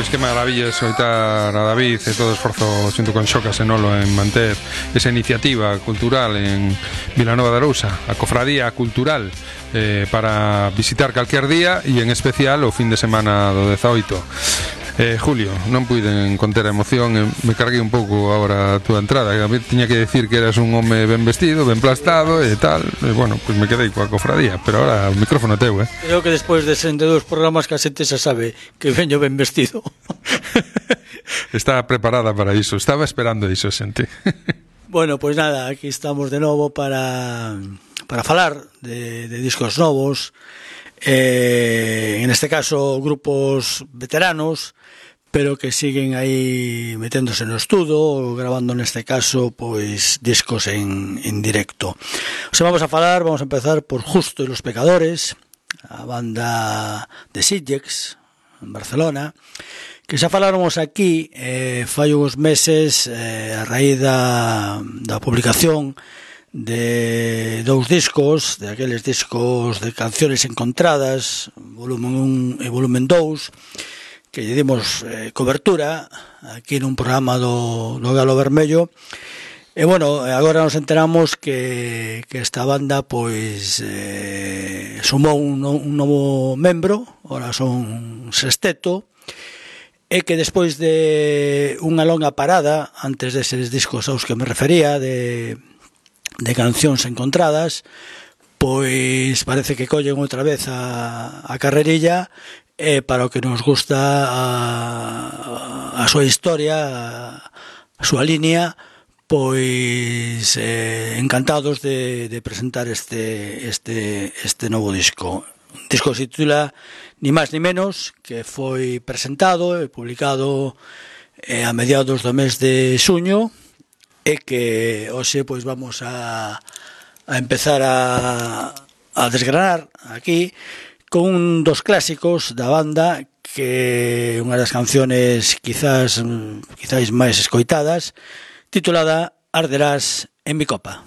Pois que maravilla escoitar a David e todo o esforzo xunto con Xocas e Nolo en manter esa iniciativa cultural en Vilanova de Arousa, a cofradía cultural, para visitar calquer día e en especial o fin de semana do 18. Julio, non puiden conter a emoción, me carguei un pouco agora a túa entrada, a mí tiña que decir que eras un home ben vestido, ben plastado e tal, e bueno, pois me quedei coa cofradía, pero ahora o micrófono é teu, Creo que despois de 62 programas que a xente xa sabe que veño ben vestido. Está preparada para iso, estaba esperando iso, xente. Bueno, pois nada, aquí estamos de novo para falar de discos novos, en este caso grupos veteranos, pero que siguen aí meténdose no estudo, grabando neste caso pois discos en directo. O sea, vamos a empezar por Justo y los Pecadores, a banda de Sitges, en Barcelona, que xa faláramos aquí fai uns meses a raíz da publicación de dous discos, de aqueles discos de canciones encontradas, volumen 1 e volumen 2, que lle dimos cobertura aquí nun programa do Galo Vermello. E bueno, agora nos enteramos que esta banda pois sumou un novo membro, ahora son sexteto, e que despois de unha longa parada antes deses discos aos que me refería de cancións encontradas, pois parece que collen outra vez a carrerilla para o que nos gusta a súa historia, a súa línea, pois encantados de presentar este novo disco. Un disco que se titula Ni máis ni menos, que foi presentado e publicado a mediados do mes de xuño, e que hoxe pois vamos a empezar a desgranar aquí con un dos clásicos da banda, que é unha das canciones quizás máis escoitadas, titulada Arderás en mi copa.